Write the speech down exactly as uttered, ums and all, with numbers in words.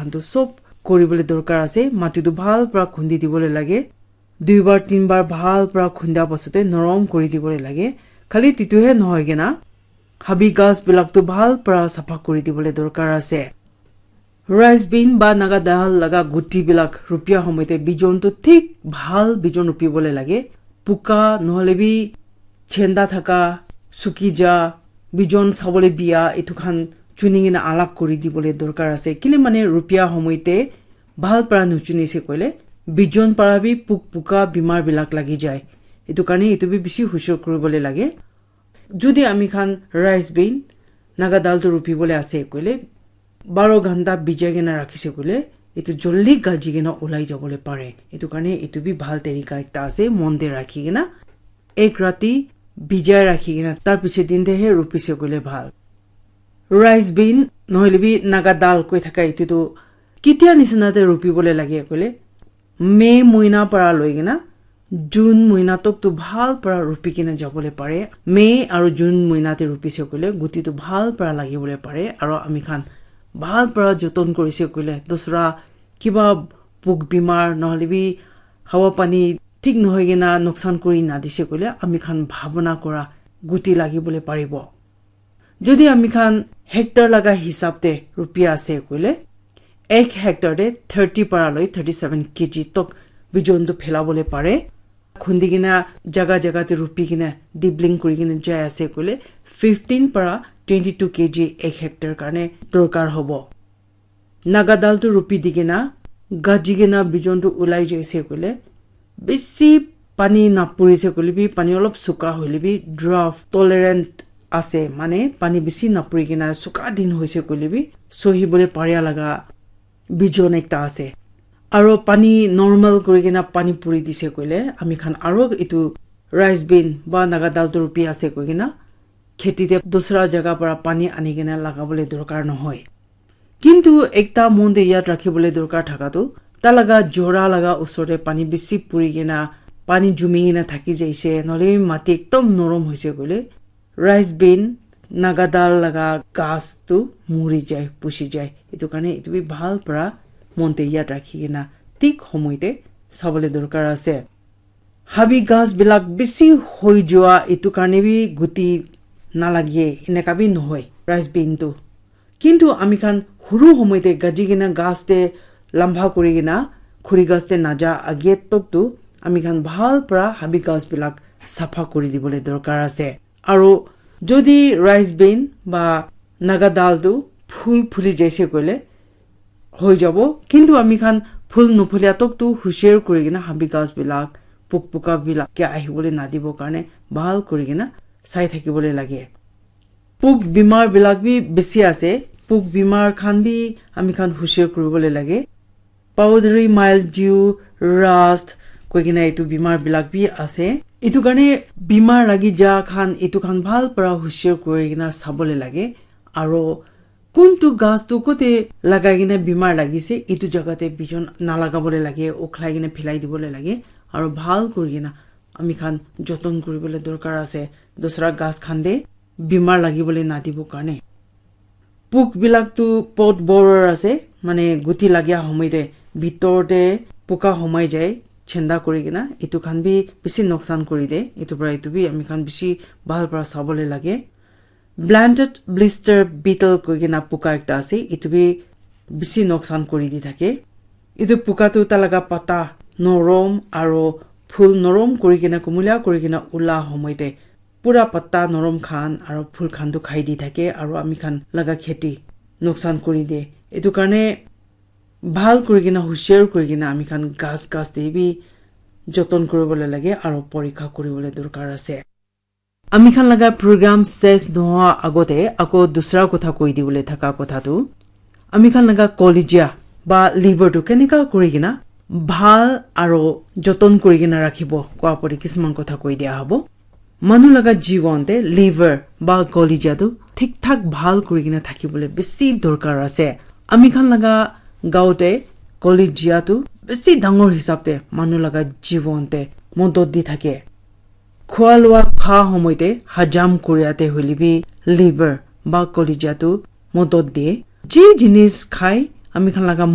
Etu sob kori bole dorkar ase. Mati tu bhal para khundi di bole lage. Dui bar, tin bar bhal para khunda pasate norom kori di bole lage. Khali titu he nohoi kena, habi ghas bilak tu bhal para sapha kori di bole dorkar ase. Rice bean ba Naga dal laga guti bilak rupia homoite bijon tu thik bhal bijon rupi bole lage. Puka nohole bi chenda thaka, suki ja, bijon sabole bia, etu khan chuni kena alag kori di bole dorkar ase. Kile mane rupia homoite bhal para nuchuni se koile, bijon para bi puk puka bimar bilak lagi jai. Etu karne etu bi bishi hushar kori bole lage. Jodi ami khan rice bean, Naga dal tu rupi bole ase koile, baro ghanta bijai kena rakhi se koile, etu joldi gaji kena ulai ja bole pare. Etu karne etu bi bhal tarika ekta ase, mon te rakhi kena, ek rati bijai rakhi kena, tar piche din te he rupi se koile bhal. Rice bean, nohole bi Naga dal koi thaka etu tu ketia nisina te rupi bole lage koile, May moina para loi kena June moina tok tu bhal para rupi kena ja bole pare. May aru June moina te rupi se koile guti tu bhal para lagi bole pare. Aru ami khan bhal para joton kori se koile dusra kiba puk bimar nohole bi hawa pani thik nohoi kena nuksan kori na di se koile ami khan bhabona kora guti lagi bole paribo. Jodi ami khan hectare laga hisab te rupia ase koile, ek hectare te thirty para loi thirty seven K G tok bijon tu phela bole pare. Khundi kena jaga jaga te rupi kena dibling kori kena jai ase koile, fifteen para twenty two K G ek hectare karne dorkar hobo. Naga dal tu rupi di kena, gaji kena bijon tu ulai jaise koile, bisi pani napuri se koile bi, pani olop suka hoile bi, drought tolerant ase, mane pani bisi napuri kena suka din hoise koile bi, sohi bole paria laga bijon ekta ase. Aro pani normal kuri kena pani puri dise koile, ami khan aro etu rice bean ba Naga dal tu rupi ase koi kena, kheti te dusra jaga para pani ani kena lagabole dorkar nohoi. Kintu ekta mon te yad rakhibole dorkar thaka tu, ta laga jora laga usor te pani bisi puri kena, pani jumi kena thaki jaise, nohole mati ekdom norom hoise koile, rice bean, Naga dal laga ghas tu muri jai, pusi jai. Etu karne etu bi bhal para mon te yad rakhi kena thik homoi te sabole dorkar ase. Habi ghas bilak bisi hoi jua etu karne bi guti nalage, eneka bi nohoi rice bean tu. Kintu ami khan huru homoi te gaji kena ghas te lamba kuri kena khuri ghas te naja age tok tu ami khan bhal para habi ghas bilak sapha kuri dibole dorkar ase. Aro jodi rice bean ba Naga dal tu phul phuli jaise koile hoi jabo, kintu ami khan phul nuphulia tok tu husiar kuri kena habi ghas bilak, puk puka bilak ke ahibole nadibo karne bhal kuri kena sai thakibole lage. Puk bimar bilak bi bisi ase, puk bimar khan bi ami khan husiar kuribole lage. Powdery mildew, rust koi kena etu bimar bilak bi ase. Etu karne bimar lagi ja khan etu khan bhal para husiar kuri kena sabole lage. Aro kuntu ghas tu kote lagai kena bimar lagise, etu jaga te bijon nalagabole lage, ukhlai kena philai dibole lage. Aro bhal kuri kena ami khan joton kuribole dorkar ase. Dusra ghas khan te bimar lagibole nadibo karne. Puk bilak tu pot borer ase, mane guti lagia homoi te bitor te puka homai jai, chenda kuri kena. Etu khan bi bisi noksan kuri de. Etu para etu bi ami khan bisi bhal para sabole lage. Planted blister beetle koi kena puka ekta ase, etu bi bisi noksan kuri di thake. Etu puka tu ta laga pata norom aro phul norom kuri kena kumulia kuri kena ula homoi te pura patta norom khan aro phul khan tu khai di thake aro ami khan laga kheti nuksan kuri de. Etu karne bhal kuri kena husiar kuri kena ami khan ghas ghas te bi joton kuribole lage aro porikha kuribole dorkar ase. Ami khan laga program ses nohoa agote ako dusra kotha koi dibole thaka kotha tu, ami khan laga kolija ba liver tu keneka kuri kena bhal aro joton kuri kena rakhibo koa pori kisman kotha koi dia hobo. Manu laga jibon te liver ba kolija tu thik thak bhal kuri kena thakibole bisi dorkar ase. Ami khan laga gao te kolija tu bisi dangor hisab te manu laga jibon te modot di thake. Khua lua kha homoi te hajam kuria te hoile bi liver ba kolija tu modot de. Ji jinis khai ami khan laga